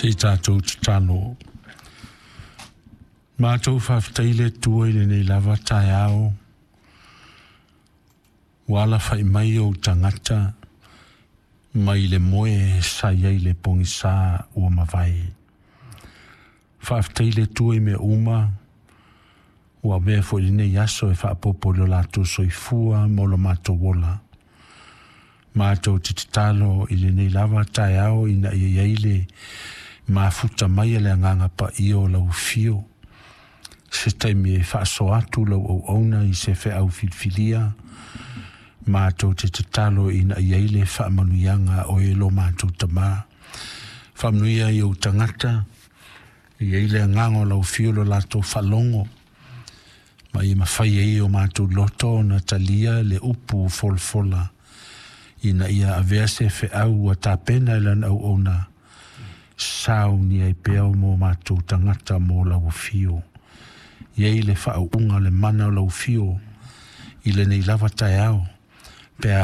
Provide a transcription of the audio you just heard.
Se i tatou tatalo. Matou faafetai le Atua i lenei lava taeao, ua alafai mai ou tagata mai le moe sa i ai le pogisa ua mavae. Faafetai le Atua i mea uma ua avea foi lenei aso e faaopoopo i lo latou soifua ma lo matou ola. Matou te tatalo i lenei lava taeao ina ia i ai le mafuta mai a le Agaga Paia o lau afio, se taimi e faasoa atu lau auauna i se feau filifilia. Matou te tatalo ina ia i ai le faamanuiaga o e lo matou Tamā. Faamanuia i ou tagata, i ai le agaga o lau afio lo latou faalogo, ma ia mafai ai o matou loto ona talia le upu folafola, ina ia avea se feau ua tapena e lana auauna, saunia ai pea o mo matou tagata mo lau afio. I ai le faauuga le mana o lau afio i lenei lava taeao, pe a